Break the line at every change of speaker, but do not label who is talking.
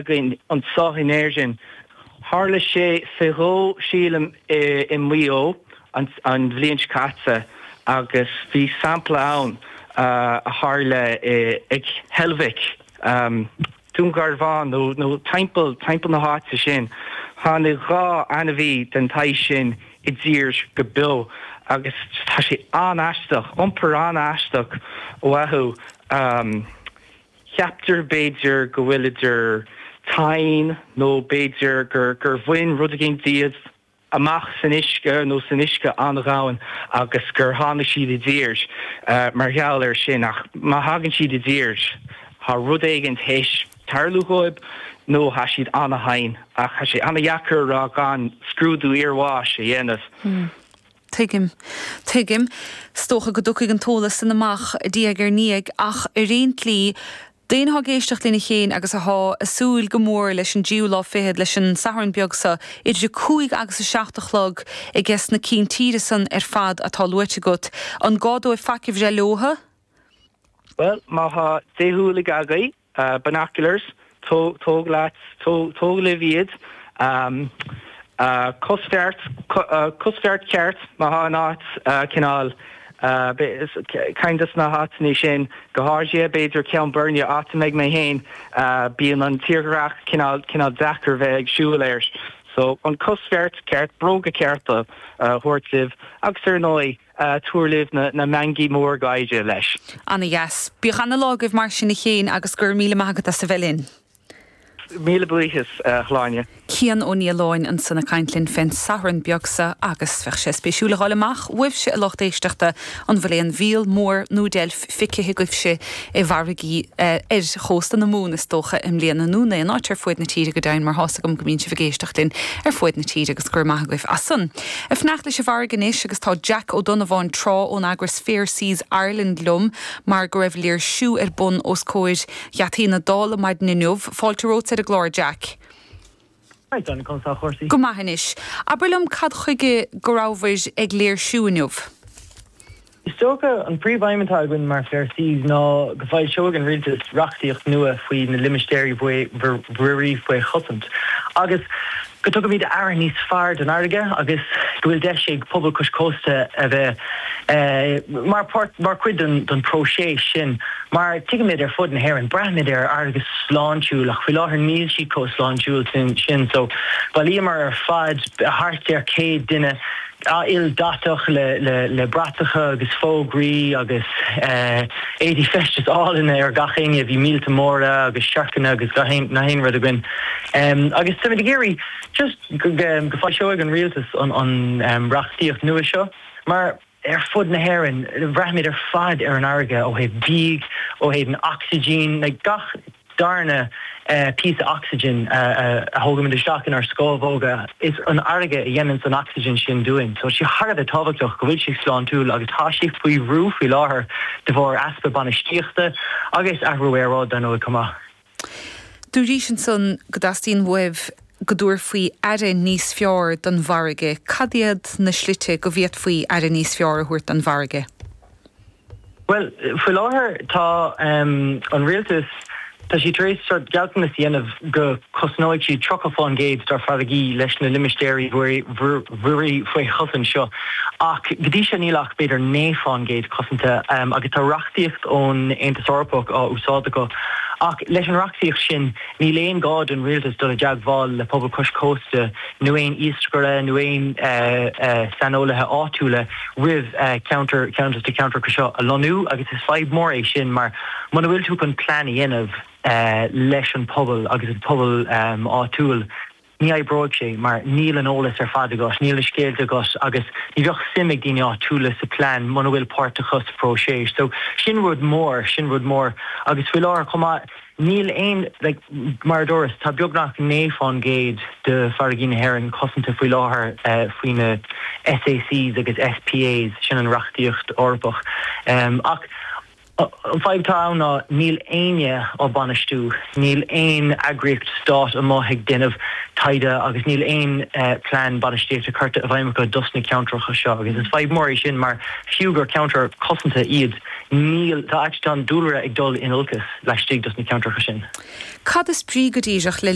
againn anseo in Éirinn. Tharla sé fé dhó, sílim, i Maigh Eo an bhliain seo caite agus bhí sampla ann a tharla ag Heilbhic, Dún Garbhán nó timpeall timpeall na háite sin. Tháinig 2 ainmhí den tsaghas sin i dtír go beo agus tá sé an-aisteach, iompar an-aisteach uathu. Ceaptar b'fhéidir go bhfuil idir tinn nó b'fhéidir gur bhain rud éigin díobh amach san uisce nó san uisce an-dhomhain agus gur tháinig siad i dtír mar gheall air sin. Ach má thagann siad i dtír, tá rud éigin théis tarlú dhóibh nó tá siad an-tinn. Ach tá sé an-dheacair a rá gan scrúdú iarbháis a dhéanamh.
Tuigim. Tuigim. Is dócha go dtiocfaidh an t-eolas san amach diaidh ar ndiaidh ach ar aon tslí, d'éinne athá ag éisteacht linn a Chéin agus athá a' súil go mór leis an dtríú lá fichead, leis an Satharn beag so, idir 5 agus 7 a chlog aige sna cinn tíre san ar fad atá luaite agat, an gá dóibh faic a bhreith leotha?
Bhuel, má thá déshúiligh agaibh, Binoculars, tóg leat, tóg libh iad. Cosbheart, cosbheart ceart má thá an áit cineál, ceann de na háiteanna sin, go háirithe b'fhéidir Ceann Boirne, áit a mbeidh mé féin, bíonn an tírdhreach cineál, cineál deacair bheith ag siúl air. So an cosbheart ceart, bróga cearta a thabhairt libh agus ar ndóigh, Tabhair libh na meangaí mór gáire leis.
Ana dheas. Bíodh ana lá agaibh mar sin a Chéin agus go raibh míle maith agat as a bheith linn.
Míle buíochas, a Shláine.
Cian Ó Nialláin ansan ag caint linn fén Satharn beag so agus bheadh sé spéisiúil a dh'fháil amach uaibhse a lucht éisteachta an bhfuil aon mhíol mór nó deilf feicthe agaibhse i bhfarraigí ar chósta na Mumhan is dócha i mbliana nó in aon áit ar fuaid na tíre go deimhin mar thá's agam go mbíonn sibh ag éisteacht linn ar fuaid na tíre agus go raibh maith agaibh as san. Ag fanacht leis an bhfarraige anois agus tá Jack Ó Donnabháin Trá ón eagras Fair Seas Ireland liom mar go raibh léirsiú ar bun os comhair gheataí na Dála maidin inniu. Fáilte romhat ar an gclár Jack.
Hi Sonia, conas tá
cúrsaí? Go maith anois. Abair liom cad chuige go rabhabhair ag léirsiú inniu?
Is dócha, an príomhaidhm atá againn mar Fair Seas ná go bhfoilseoidh an rialtas reachtaíocht nua faoi na limistéirí mhuirí faoi chosaint agus go dtugaimid aire níos fearr don fharraige agus go bhfuil deis ag pobal cois cósta a bheith mar páirt, mar chuid den próiseas sin mar tuigimid ar fud na hÉireann, braithimid ar fharraige sláintiúil ach faoi láthair níl sí chomh sláintiúil sin so bhailíomar ar fad thart ar 100 duine ildathach le bratacha agus fógraí agus éadaí feistis álainne ar gach éinne. Bhí míolta móra agus siorcanna agus gach aon rud againn. Agus táimid ag iarraidh just go bhfoilseoidh an rialtas an reachtaíocht nua seo mar ar fud na hÉireann braithimid ar fad ar an fharraige ó thaobh bídh, ó thaobh an ocsaigin, like gach darna píosa ocsaigin a thógaimid isteach inár scamhóga, is an fharraige a dhéananns an ocsaigin sin dúinn. So tá sé thar a bheith tábhachtach go bhfuil sé sláintiúil agus tá sé faoi bhrú faoi láthair de bharr easpa bainistíochta agus athrú aeráide dar ndóigh chomh maith.
Dúraís ansan go dteastaíonn uaibh go dtabharfaí aire níos fearr don bhfarraige. Cad iad na slite go bhféadfaí aire níos fearr a thabhairt don bhfarraige?
Bhuel, faoi láthair tá an rialtas, tá siad tar éis sort gealltanas a dhéanamh go cosnóidh siad 30% dár farraigí leis na limistéirí mhuirí faoi chosaint seo ach go dtí seo níl ach b'fhéidir 9% cosanta agus tá reachtaíocht ón Aontas Eorpach á úsáid acu ach leis an reachtaíocht sin Níl aon gá don rialtas dul i dteagmháil le pobal cois cósta nó aon iascaire nó aon saineolaithe áitiúla roimh ceantar ceann de na ceantracha seo a lonnú agus is fadhb mór é sin mar muna bhfuil tú chun plean a dhéanamh leis an pobal agus an pobal áitiúil ní oibreoidh sé mar níl an eolas ar fad agat, níl na scéalta agat agus ní bheadh suim ag daoine áitiúla sa plean muna bhfuil páirt acu sa phróiseas. So sin rud mór, sin rud mór agus faoi láthair chomh maith níl aon, like, mar a dúras, tá beagnach 9% de farraigí na hÉireann cosanta faoi láthair faoi na SACs agus SPAs, sin an reachtaíocht Eorpach. Ach. An fadhb atá ann ná níl éinne á bainistiú, níl aon eagraíocht stáit amuigh ag déanamh taighde agus níl aon plean bainistíochta curtha i bhfeidhm acu dos na ceantracha seo agus is fadhb mór é sin mar fiú gur ceantair cosanta iad níl, tá actually tá an dúlra ag dul in olcas laistigh dos na ceantracha sin.
Cad is brí go díreach le.